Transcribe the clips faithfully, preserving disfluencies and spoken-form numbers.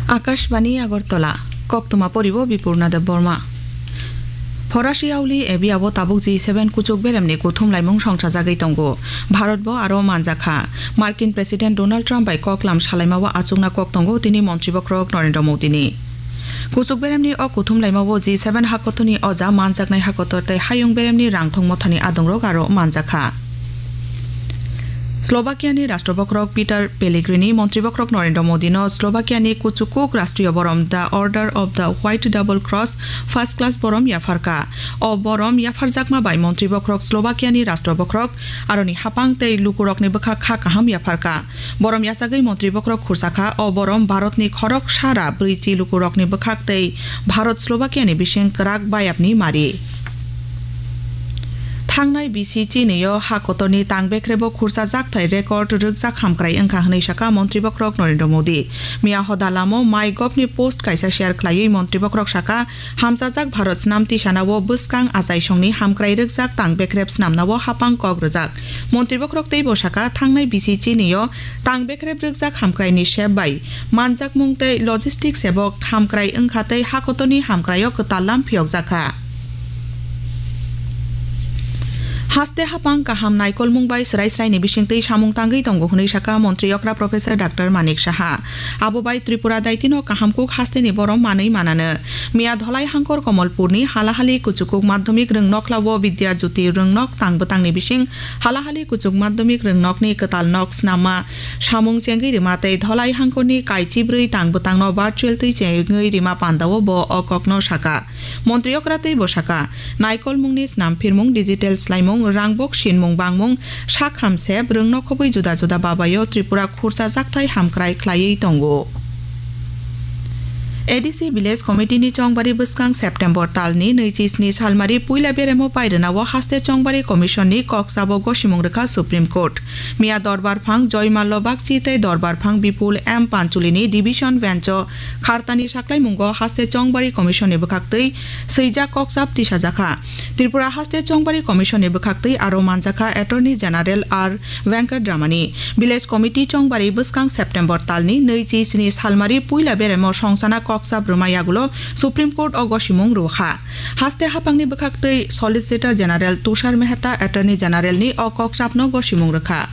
Akashbani Agartala, koktwma poribo Bipurna Debbarma. Phorasi auli Abia o tabuk G seven kuchuk beremni kuthum laimung songchajagwi tongo. Bharat bo aro manjakha. Markin President Donald Trump bai koklam salaima o achukna kok tongo tini Montri Bokhorok Narendra Modi ni. Kuchuk beremni o kuthum laima o G seven hakotorni oja manjaknai hakotor tei hayung beremni rangthong mothani adongrok aro manjakha. Slovakia ni Rashtra Bokhorok Peter Pellegrini Montri Bokhorok Narendra Modi no Slovakia ni kuchukuk Rashtriya Borom The Order of the White Double Cross First Class Borom yapharkha. O borom yapharjakma bai Montri Bokhorok Slovakia ni Rashtra Bokhorok aroni hapang tei lukurokni bwkhak kha kaham yapharkha. Borom yachagwi Montri Bokhorok khursakha, o borom Bharatni khorok sara brwichi lukurokni bwkhak tei Bharat Slovakiani bising kwrak bayapni mari. Thangnai bisi chinio ha kotorni tang bekrebo khursa jakthai record rwkjak hamkrai wngkha hwnwi sakha Montri Bokhorok Narendra Modi. Miya hoda lamo MyGovni post kaisa share khlaiwi Montri Bokhorok sakha, hamchajak Bharat snam tisanao bwskang achaisongni hamkrai rwkjak tang bekrep snamnao hapang kok rwjak. Montri Bokhorok teibo sakha, thangnai bisi chinio tang bekrep rwkjak hamkraini sep bai manjakmung tei logistics sebo hamkrai wngkha tei hakotorni hamkraio kwtal lam phiyokjakha. Haste hapang kaham naikolmung bai srai sraini bisingtwi samung tangwi tongo hwnwi sakha Montri okra Professor Doctor Manik Saha. Abo bai Tripura daitino kaham kuk hasteni borom manwi manano. Miya Dholai hangkor Komolpurni halahali kuchukuk madhyamik rwngnokhlao Vidya Jyoti rwngnok tang bwtangni bising halahali kuchuk madhyamik rwngnokni kwtal nok snamma samung chengwi rima tei Dholai hangkorni kaichibrwi tang bwtangno virtual twi chengwi rima pandao bo o kokno sakha. Montri okra teibo sakha, naikolmungni snam phirmung, digital slaimung, rangbok sinmung bangmung, sak hamsep, rwngnok khobwi juda juda babaio Tripura khursa jakthai hamkrai khlaiwi tongo. A D C Village Committee ni chongbari bwskang September talni nwichi sni salmari puila beremo pairwnao haste chongbari commission ni kok sabo gosimung rwkha Supreme Court. Miya Dorbar Phang Joymallo Bagchi tei Dorbar Phang Bipul M Panchuli ni division bench o khartani saklaimungo haste chongbari commission ni bwkhaktwi swijak kok sab tisajakha. Tripura haste chongbari commission ni bwkhaktwi aro manjakha Attorney General R Venkatramani. Village Committee chongbari bwskang September talni nwichi sni salmari puila beremo songsana kok sab rwma yagulo Supreme Court o gosimung rwkha. Haste hapangni bwkhaktwi Solicitor General Tushar Mehta Attorney General ni o kok sabno gosimung rwkha.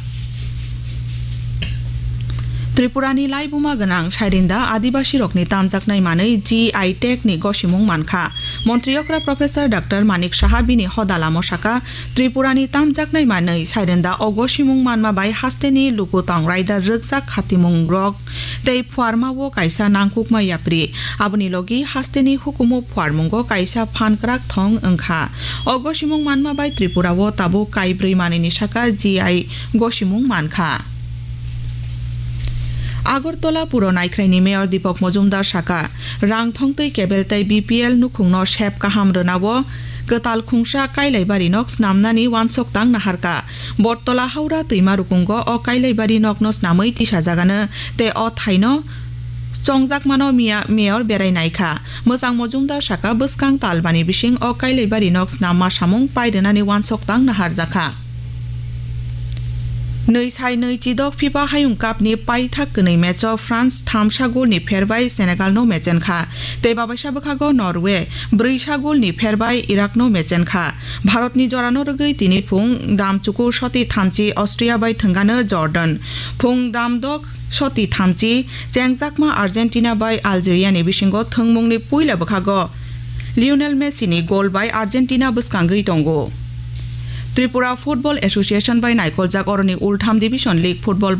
Tripurani laibuma gwnang Sairinda Adibasirokni tamjaknai manwi G I tag ni gosimung mankha. Montri okra Professor Doctor Manik Saha bini hoda lamo sakha, Tripurani tamjaknai manwi Sairinda o gosimung manma bai hasteni luku tong raida rwkjak khatimungrok tei phuarmao kaisa nangkukma yapri. Aboni logi hasteni hukumu phuarmungo kaisa phan kwrak thong wngkha. O gosimung manma bai Tripurao tabuk kaibrwi manwini saka G I gosimung mankha. Agartala Puro Naikhraini Mayor Deepak Majumdar saka, rang thongtwi kebel tei B P L nukhungno sep kaham rwnao kwtal khungsa Kailaibari nok snamnani wansok tang naharkha. Bortola Haura twima rukungo o Kailaibari nokno snamwi tisajagano tei o thaino chongjakmano miya Mayor berai naikha. Mwchang Mojumdar saka bwskang talbani bising o Kailaibari nok snamma samung pairwnani wansok tang naharjakha. Nwi sai nwi chidok FIFA Hayung Cup ni paithak kwnwi match o France thamsa goal ni pher bai Senegal no mechenkha, tei babaisa bwkhago Norway brwisa goal ni pher bai Iraq no mechenkha. Bharat ni jora no rwgwi tini phung dam chukur soti thamchi Austria bai thwngano Jordan, phung dam dok soti thamchi chengjakma Argentina bai Algeria ni bisingo thwngmungni puila bwkhago Lionel Messi ni goal bai Argentina bwskangwi tongo. Tripura Football Association bai naikoljak oroni ultham division league football